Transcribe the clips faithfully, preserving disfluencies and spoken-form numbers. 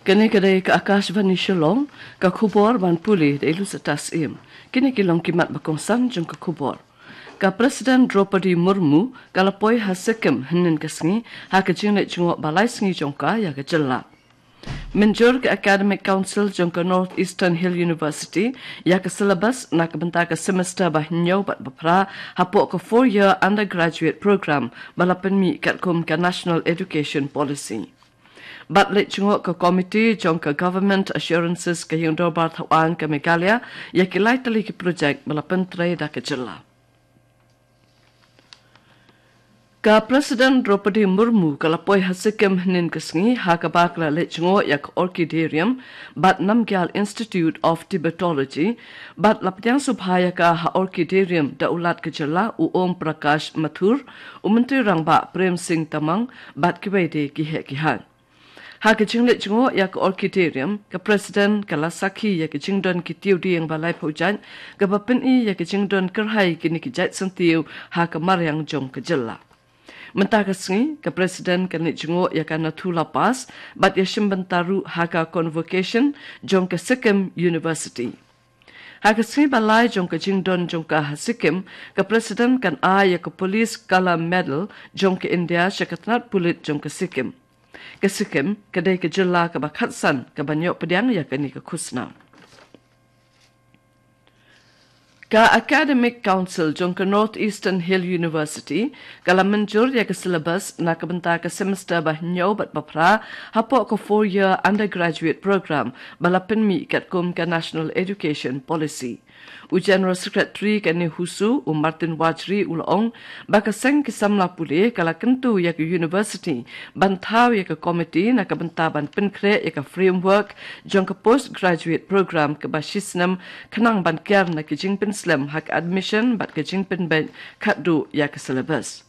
Kane ka dei ka Akashvani Shillong, ka khubor ban pule da i Lusitas Im. Kine ki long ki mat ba kongsan jong ka khubor. Ka President Draupadi Murmu ka la poi ha Sikkim hynnin ka sngi, ha ka jingleit jngoh ba lai sngi jong ka ïa ka jylla. Mynjur ka Academic Council jong ka North Eastern Hill University ïa ka syllabus na ka bynta ka semester ba hynñiew bad ba phra hapoh ka four year undergraduate program ba la pynmih katkum ka National Education Policy. Bad leit jngoh ka komiti jong ka Government Assurances ka Ïing Dorbar Thawaiñ ka Meghalaya ïa ki lai tylli ki projek ba la pyntrei da ka jylla. Ka President Draupadi Murmu ka la poi ha Sikkim hynnin ka sngi, ha kaba ka la leit jngoh ïa ka Orchidarium bad Namgyal Institute of Tibetology, bad la pdiang sngewbha ïa ka ha Orchidarium da u Lat ka jylla u Om Prakash Mathur, u Myntri Rangbah Prem Singh Tamang, bad kiwei de ki heh ki haiñ. Ha ka jingleit jngoh ïa ka Orchidarium, ka President ka la sakhi ïa ka jingdon ki tiew dieng ba laiphew jait, kaba pyni ïa ka jingdon kyrhai kine ki jait syntiew ha ka mariang jong ka jylla. Mynta ka sngi, ka President kan leit jngoh ïa ka Nathu La Pass, bad ïashim bynta ruh ha ka convocation jong ka Sikkim University. Ha ka sngi ba lai jong ka jingdon jong ka ha Sikkim, ka President kan ai ïa ka Police Color Medal jong ka India sha ka tnat pulit jong ka Sikkim. Ka Sikkim ka dei ka jylla kaba khatsan kaban ïoh pdiang ïa kane ka khusnam. Ka Academic Council jong ka North Eastern Hill University ka la mynjur ïa ka syllabus na ka bynta ka semester ba hynñiew bad ba phra hapoh ka four year undergraduate program ba la pynmih katkum ka National Education Policy. U General Secretary ka NEHUSU, u Martin Wajri, u la ong ba ka seng ki samla pule ka la kyntu ïa ka university ban thaw ïa ka komiti na ka bynta ban pynkhreh ïa ka framework jong ka postgraduate program kaba shisnem, khnang ban kiar na ka jingpynslem ha ka admission bad ka jingpynbeit khatduh ïa ka syllabus.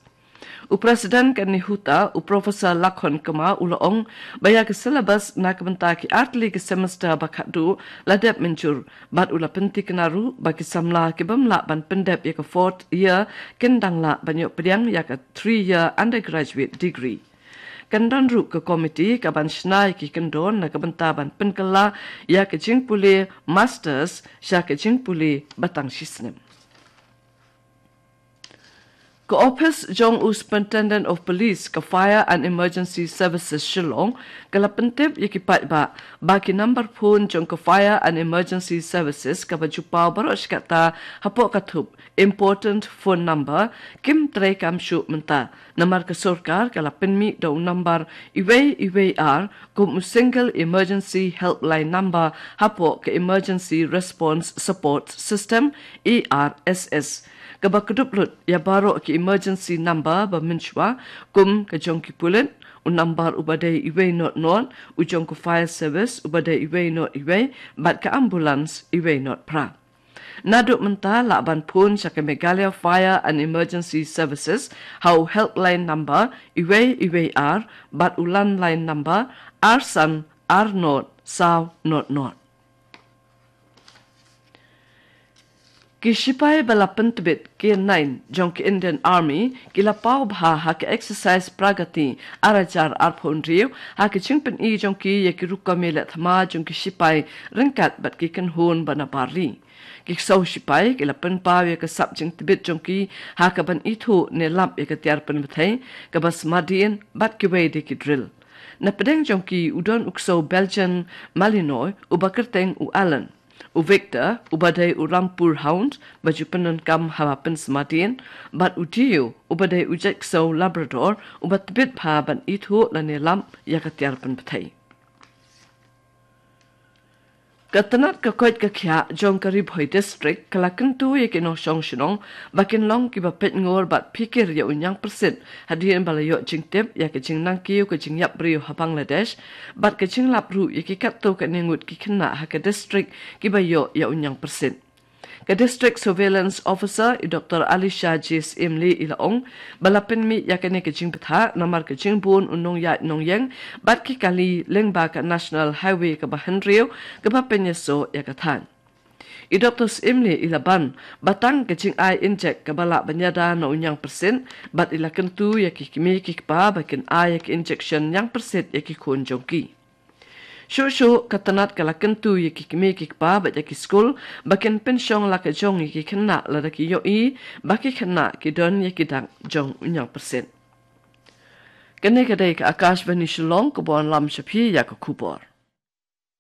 U President ka NEHUTA, u Professor Lakhon Kma, u la ong ba ïa ka syllabus na ka bynta ki artylli ki semester ba khatduh la dep mynjur, bad u la pyntikna ruh ba ki samla ki bym lah ban pyndep ïa ka fourth year kin dang lah ban ïoh pdiang ïa ka three year undergraduate degree. Kan don ruh ka komiti kaban shna ïa ki kyndon na ka bynta ban pynkylla ïa ka jingpule masters sha ka jingpule ba tang shisnem. Ka ophis jong u Superintendent of Police ka Fire and Emergency Services Shillong ka la pyntip ïa ki paidbah ba ki nambar phone jong ka Fire and Emergency Services kaba ju paw baroh shi katta hapoh ka thup important phone number kim trei kam shuh mynta. Namar ka sorkar ka la pynmih da u nambar uwei uwei ar kum u single emergency helpline number hapoh ka Emergency Response Support System, E R S S. Kaba kdup lut ïa baroh ki emergency number ba mynshuwa, kum ka jong ki pulit, u nambar uba dei uwei not not, u jong ka fire service uba dei uwei not uwei, bad ka ambulance uwei not phra. Naduh mynta lah ban phone sha ka Meghalaya Fire and Emergency Services ha u helpline number uwei uwei ar, bad u landline number ar san ar not saw not not. Ki shipai ba la pyntbit, K nine jong ki Indian Army ki la paw bha ha ka exercise Pragati ar hajar arphew hynriew ha ka jingpyni jong ki ïa ki rukom ïaleh thma jong ki shipai ryngkat bad ki kynhun ba na bar ri. Ki ksew shipai ki la pynpaw ïa ka sap jingtbit jong ki ha kaban ithuh ne lap ïa ka tiar pynbthei, kaba smadien bad kiwei de ki drill. Na pdeng jong ki u don u ksew Belgian Malinois uba kyrteng u Alan, u Victor uba dei u Rampur Hound ba ju pyndonkam haba pynsmadien, bad u Dio uba dei u jait ksew Labrador uba tbit bha ban ithuh lane lap ïa ka tiar pynbthei. Ka tnat ka koit ka khiah jong ka Ri Bhoi District ka la kyntu ïa ki nongshong shnong ba kin long kiba peit ngur bad phikir ïa u ñiangpyrsit hadien ba la ïoh jingtip ïa ka jingnangkiew ka jingïap briew ha Bangladesh, bad ka jinglap ruh ïa ki katto katne ngut ki khynnah ha ka district kiba ïoh ïa u ñiangpyrsit. Ka District Surveillance Officer, i Doctor Alisha J Syiemlieh, i la ong ba la pynmih ïa kane ka jingbthah namar ka jingbun u nongïaid nongïeng bad ki kali lyngba ka National Highway kaba hynriew kaba pynïasoh ïa ka thaiñ. I Doctor Syiemlieh i la ban ba tang ka jingai injek kaba lah ban ïada na u ñiangpyrsit, bad i la kyntu ïa ki kmie ki kpa ba kin ai ïa ki injection ñiangpyrsit ïa ki khun jong ki. Shuh shuh ka tnat ka la kyntu ïa ki kmie ki kpa bad ïa ki skul ba kin pynshong la ka jong ïa ki khynnah lada ki ïohi ba ki khynnah ki don ïa ki dak jong u ñiangpyrshit. Kane ka dei ka Akashvani Shillong kaba wanlam sha phi ïa ka khubor.